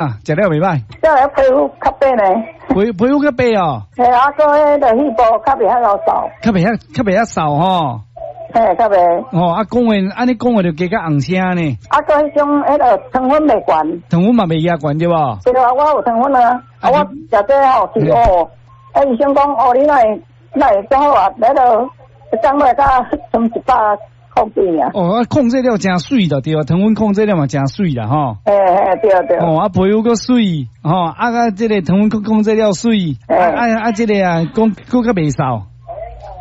啊，食了袂䆀。食了皮膚較白呢。皮膚較白哦。嘿，啊，閣彼个肺部較袂遐𠢕瘦。較袂遐瘦吼。嘿，較袂。哦，啊，講話按呢講話就加較紅聲呢。啊，閣彼種彼个糖分袂懸。糖分嘛袂遐懸對無？對啊，我有糖分啊，啊，我食這吼是哦，啊，醫生講哦，你哪會哪會這好啊？彼个降落甲剩100。控制啊！哦，啊，控制了誠媠就對啊，糖分控制了嘛誠媠啦吼。嘿嘿，對對。哦，啊，皮膚閣媠，吼，啊個這个糖分控制了媠，啊啊啊，這个啊，講閣較袂瘦。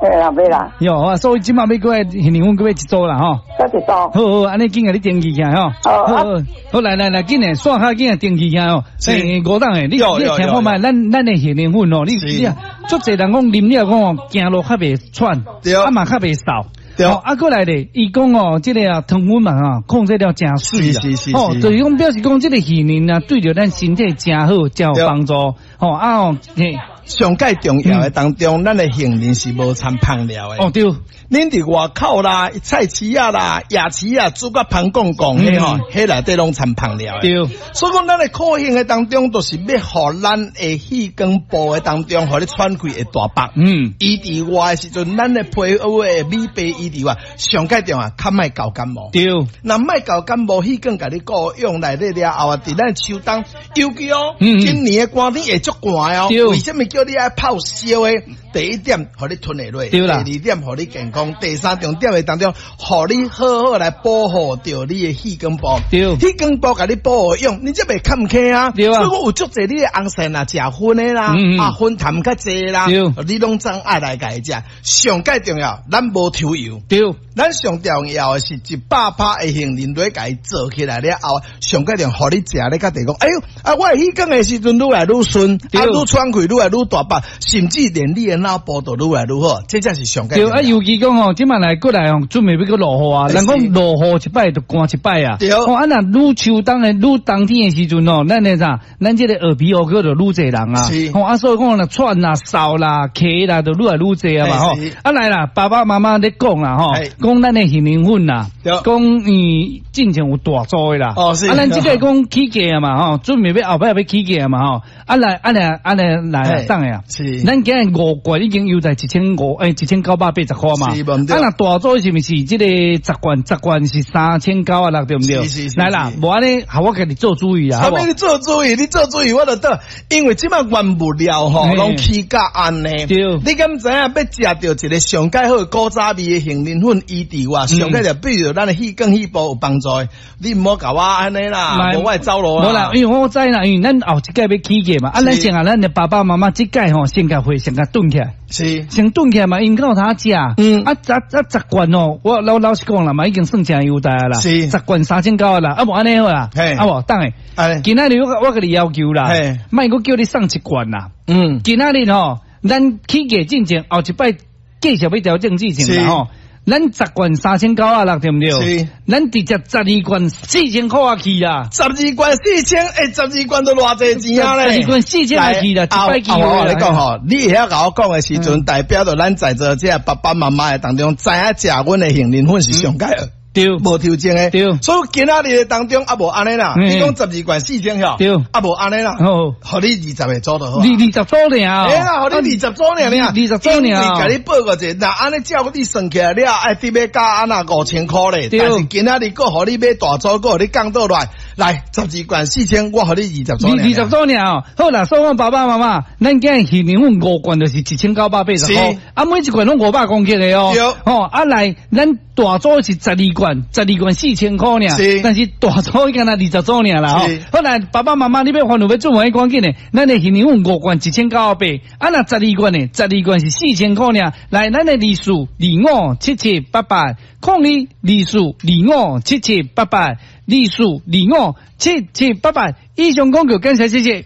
嘿啦，袂啦。喲，所以這馬欲閣愛杏仁粉閣買一組啦吼。閣一組。好好，按呢緊共你登記起來吼。好，好，好，來來來，緊來，線較緊來登記起來吼。欸，吳董的，你你聽看覓，咱的杏仁粉哦，你你足濟人講啉了講哦，行路較袂喘，啊嘛較袂瘦。哦，啊，閣來咧，伊講哦，這個啊，糖分嘛吼，控制了誠媠啦。哦，就是講表示講這個杏仁啊，對著咱身體誠好，誠有幫助。吼啊哦，嘿，上蓋重要的當中，咱的杏仁是無摻香料的。哦，對。恁佇外口啦，菜市仔啦、夜市啊，煮甲芳摃摃，彼吼，彼內底攏摻香料的。所以講，咱的苦杏的當中，就是欲予咱的氣管部的當中，予你喘氣會大腹。伊佇外的時陣，咱的皮膚的美白伊佇外，上蓋重要，較莫厚感冒。若莫厚感冒，氣管共你顧用內底了後啊，佇咱秋冬，尤其哦，今年的寒天會足寒哦。為啥物叫你愛泡燒的？第一點，予你吞會落；第二點，予你健康；第三重點的當中，予你好好來保護著你的氣管部。氣管部共你保護用，你才袂坎坷啊。所以講有足濟你的翁婿若食薰的啦，啊薰痰較濟啦，你攏總愛來共伊食。上蓋重要，咱無抽油。咱上重要的是100%的杏仁落共伊做起來了後，上蓋重要，予你食咧較地講，哎喲，啊，我的氣管的時陣愈來愈順，啊，愈喘氣愈來愈大腹，甚至連你的腦部都愈來愈好，這才是上蓋。對啊，尤其講吼，這馬來過來吼，準備欲閣落雨啊，人講落雨一擺就寒一擺啊。哦，啊，若愈秋冬的愈冬天的時陣哦，咱的啥，咱這個耳鼻喉科就愈濟人啊。吼啊，所以講若喘啦、嗽啦、咳啦，就愈來愈濟啊嘛吼。啊來啦，爸爸媽媽咧講啦吼，講咱的杏仁粉啦，講伊進前有大組的啦。哦，是。啊，咱這個講起價啊嘛吼，準備欲後擺欲起價啊嘛吼。啊來，啊來，啊來來，等下啊。咱今日五罐已經優待1500，欸，1980塊嘛。是，啊，若大組是毋是這個十罐？十罐是3960，對毋對？是是是。來啦，無按呢，予我家己做主意啦。啥物你做主意？你做主意，我就倒。因為這擺原物料吼，攏起價按呢。你敢知影欲食著一個上蓋好古早味的杏仁粉，伊佇外上蓋就比如咱的氣管肺部有幫助的。你毋好共我按呢啦，無我會走路啦。無啦，因為我知啦，因為咱後一屆欲起價嘛，啊，咱先啊，咱的爸爸媽媽這屆吼，先共貨先共囤起來。先囤起來嘛，𪜶較有通食。啊，啊，十罐哦，我老老實講啦嘛，已經算誠優待啦。十罐3900啦，啊無按呢好啦。啊無，等下。今仔日我我共你要求啦，莫閣叫你送一罐啦。今仔日吼，咱起價進前後一擺繼續欲調整之前啦吼。咱十罐3960，對毋對？是。咱直接十二罐4000塊啊去啦。十二罐四千，欸，十二罐都偌濟錢啊咧？十二罐四千啊去啦，一擺機會。我共你講吼，你會曉共我講的時陣，代表著咱在座這爸爸媽媽的當中，知影食阮的杏仁粉是上蓋的。無抽精的。所以今仔日的當中，啊無按呢啦，你講十二罐四千吼，啊無按呢啦，予你20個組就好。二十組爾。欸啦，予你二十組爾爾。二十組爾。因為共你報過者，若按呢照你算起來了，愛得欲加按那5000塊咧。但是今仔日閣予你買大組，閣予你降倒來，來十二罐四千，我予你二十組。二十組爾，好啦，所以講爸爸媽媽，咱今日杏仁粉五罐就是1980塊。啊，每一罐攏500公克的哦。吼，啊來，咱大組是十二罐。十二罐4000塊爾，但是大組敢若二十組爾啦吼。好來，爸爸媽媽，你欲煩惱欲做啥趕緊的，咱的杏仁粉五罐1980，啊若十二罐呢？十二罐是四千塊爾。來，咱的24257788，0224257788，24257788。以上廣告，感謝，謝謝。